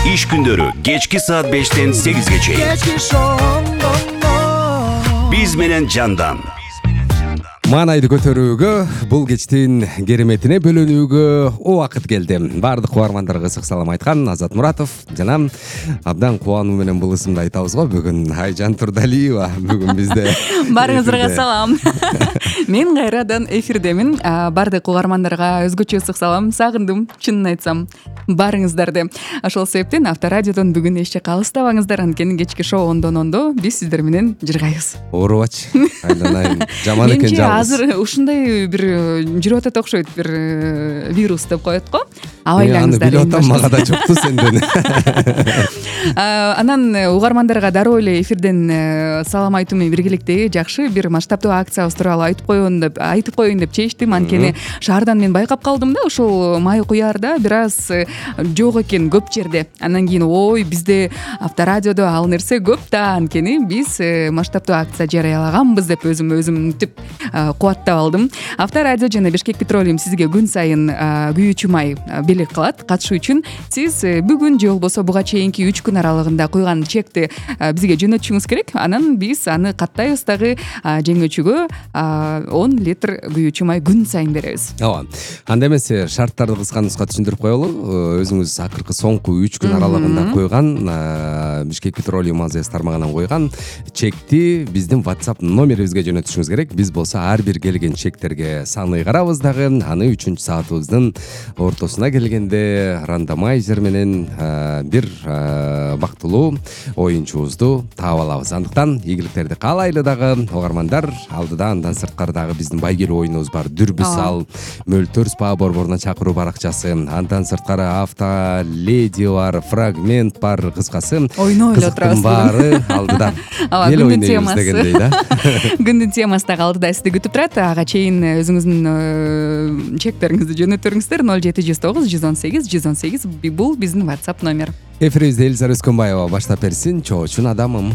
Иш күндөрү кечки саат 5тен 8ге чейин. Биз менен жандан. Маанайды көтөрүүгө, бул кечтин кереметине бөлөнүүгө убакыт келди. Бардык угармандарга ысык салам айткан Азат Муратов жана абдан кубануу менен бул ысымды айтабыз го. Бүгүн Айжан Турдалиева бүгүн бизде. Баарыңыздарга салам. Мен кайрадан эфирдемин. Бардык угармандарга өзгөчө ысык салам. Сагындым, чынын айтсам, баарыңыздарды. Ошол себептен Авторадиодон бүгүн эч жакка алыстабаңыздар. Анткени кечки шоу ондон биз сиздер менен жыргайбыз. Оорубачы. Айланайын. Жаман экен жалгыз. Азыр ушундай бир жүрүп атат окшойт, бир вирус деп коет го. Абайлаңыздар. Аны билип атам, мага да жокту сенден. Анан угармандарга дароо эле эфирден салам айтуу менен биргеликте жакшы бир масштабдуу акциябыз тууралуу айтып коеюн деп чечтим. Анткени шаардан мен байкап калдым да, ушул май куярда бир аз жок экен көп жерде. Андан кийин бизде Авторадиодо ал нерсе көп да, анткени биз масштабдуу акция жарыялаганбыз деп өзүм түп кубаттап алдым. Авторадио жана Бишкек Петролиум сизге күн сайын күйүүчү май белек кылат. Катышуу үчүн сиз бүгүн же болбосо буга чейинки 3 күн аралыгында куйган чекти бизге жөнөтүшүңүз керек. Анан биз аны каттайбыз дагы, жеңүүчүгө 10 литр күйүүчү май күн сайын беребиз. Ооба. Анда эмесе шарттарды кыска нуска түшүндүрүп коелу. Өзүңүз акыркы соңку 3 күн аралыгында куйган Бишкек Петролиум АЗС тармагынан куйган чекти биздин WhatsApp номерибизге жөнөтүшүңүз керек. Биз болсо ар бир келген чектерге саны карабыз дагы. Аны 3-чү саатыбыздын ортосуна келгенде рандомайзер менен бир бактылуу оюнчубузду таап алабыз. Андыктан ийгиликтерди каалайлы дагы угармандар. Алдыда андан сырткары дагы биздин байгелүү оюнубуз бар. Дүрбү сал, мөлтөр спа борборуна чакыруу баракчасы. Андан сырткары Автоледи бар, фрагмент бар, кыскасы. Ойноо эле отурабыз. Баары алдыда. Эл ойнойбуз дегендей да. Күндүн темасы дагы алдыда сизди күтүп турат. Ага чейин өзүңүздүн чектериңизди жөнөтөрүңүздөр 0709 118 118. Бул биздин WhatsApp номер. Эфирибизде Элиза Өскөнбаева баштап берсин. Чоочун адамым.